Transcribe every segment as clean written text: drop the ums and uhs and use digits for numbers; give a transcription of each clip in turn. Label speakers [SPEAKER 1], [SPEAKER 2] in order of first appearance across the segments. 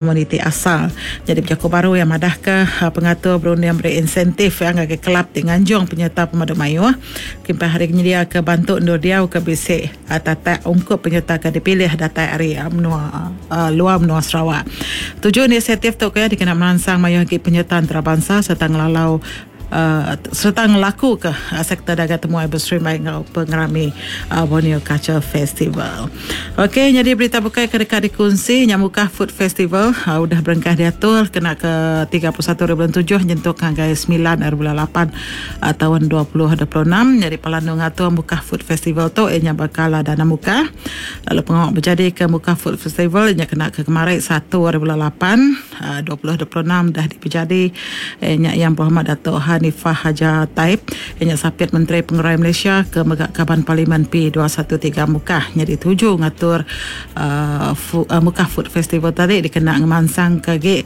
[SPEAKER 1] Komuniti asal. Nyadi bejaku baru iya madahka pengatur berunding meri insentif ngagai kelab ti nganjung penyereta pemadu mayuh kelimpah ari nyediaka bantu endur diau ke bisi tatak ungkup penyereta ke dipilih datai ari menua luar menua Sarawak. Tuju inisiatif tu ke dikena meransang mayuh agi penyereta entarabansa sereta ngelalau sereta ngelakuka sektor dagang temuai beserimbai enggau pengerami Borneo Culture Festival. Okey nyadi berita bukai ke deka dikunsi nya Mukah Food Festival udah berengkah diatur kena ke 31 hari bulan tujuh nyentuk ngagai semilan hari bulan lapan taun 2026 nyadi palan endur ngatur Mukah Food Festival tu iya nya bakal Dana Mukah lalu pengawa bejadika Mukah Food Festival iya nya kena ke kemari satu hari bulan lapan. 2026 dah dipejadi iya nya Yang Berhormat Datuk Hanifah Hajar Taib iya nya Sapit Menteri Pengerai Malaysia ke mega Kaban Parlimen P213 Mukah nyadi tuju ngatur Mukah Food Festival tadi dikena ngemansangka agi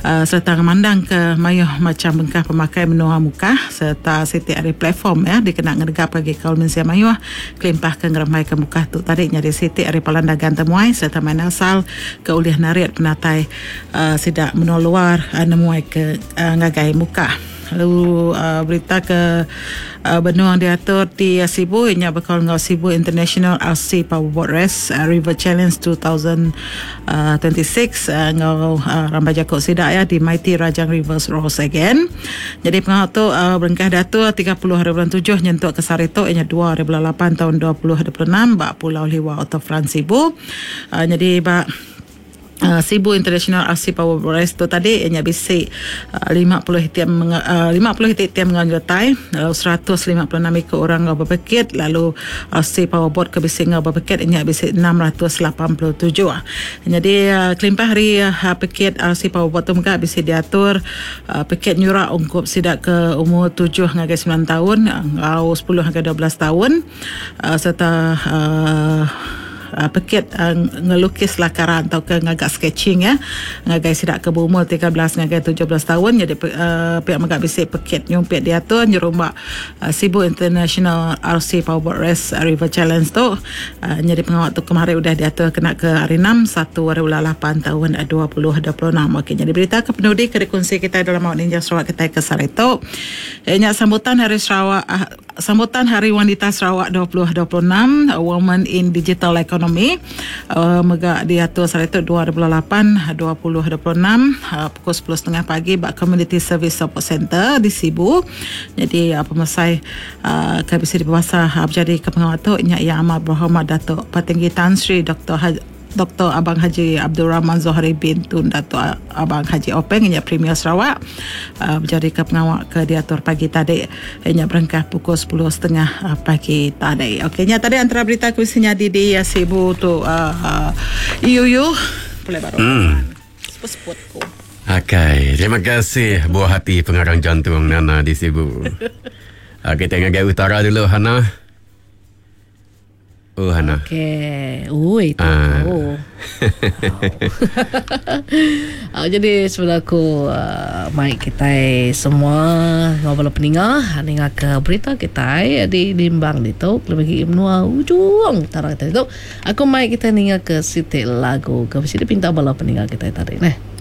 [SPEAKER 1] sereta ngemandangka mayuh macham bengkah pemakai menua Mukah sereta siti ari platform iya dikena ngenegapka agi kaul mensia mayuh kelimpah ke ngerembaika Mukah tu tadi nyadi siti ari palan dagang temuai sereta main asal ke ulih narit penatai sida menua luar nemuai ke ngagai Mukah. Lalu berita ke benung diatur di Sibu iya nya bekaul enggau Sibu International RC Powerboat Race River Challenge 2026 enggau rambai jaku sida iya di Mighty Rajang Rivers Rose Again. Nyadi pengawa tu berengkah diatur 30 hari bulan tujuh nyentuk ke sehari tu iya nya dua hari bulan lapan taun 2026 ba Pulau Liwa Waterfront Sibu. Nyadi ba Sibu International RC Power Race tu tadi iya nya bisi 50 iti 50 iti tim enggau nyertai lalu 156 iku orang enggau bepekit lalu RC Power Boat ke bisi enggau bepekit iya nya bisi 687. Nyadi kelimpah ari pekit RC Power Boat tu mega bisi diatur pekit nyura ungkup sida ke umur tujuh ngagai semilan taun enggau sepuluh ngagai 12 taun sereta Pekit ngelukis lakaran tauka ngaga sketching iya ngagai sida ke beumur 13 ngagai 17 taun nyadi pia mega bisi pekit nyumpit diatur nyerumba Sibu International RC Powerboat Race River Challenge tu nyadi pengawa tu kemari udah diatur kena ke hari enam satu hari bulan lapan taun 2026. Okey nyadi berita ke penudi ke dikunsi kitai dalam Awak Ninja Sarawak kitai ke sehari tu iya nya sambutan Hari Sarawak Sambutan Hari Wanita Sarawak 2026, Women in Digital Economy, mega diatur sehari tu 2008, 2026 pukul sepuluh setengah pagi ba Community Service Support Centre di Sibu. Nyadi pemesai ke bisi dipebasa bejadika pengawa tu nya Yang Amat Berhormat Datuk Patinggi Tan Sri Doktor Doktor Abang Haji Abdul Rahman Zohari bin Tun Datuk Abang Haji Openg inya Premier Sarawak bejadika pengawa ke diatur pagi tadi inya berengkah pukul sepuluh setengah pagi tadi. Okey nya tadi antara berita ke bisi nyadi di Sibu tu iuyu pulai baru. Seput-seput ku.
[SPEAKER 2] Akai, terima kasih buah hati pengarang jantung Nana di Sibu. Okey, kita ngagai utara dulu Hana. Oh Hana.
[SPEAKER 3] Okey. Ui tu.
[SPEAKER 2] Ah.
[SPEAKER 3] Oh. uh, jadi sebelum aku uh, mai kita semua ngau bala peninga ninga ke berita kita di Limbang ditu lebih lagi menua ujung utara kita tu aku mai kita ninga ke siti lagu ke mesti dipinta bala peninga kita tadi neh.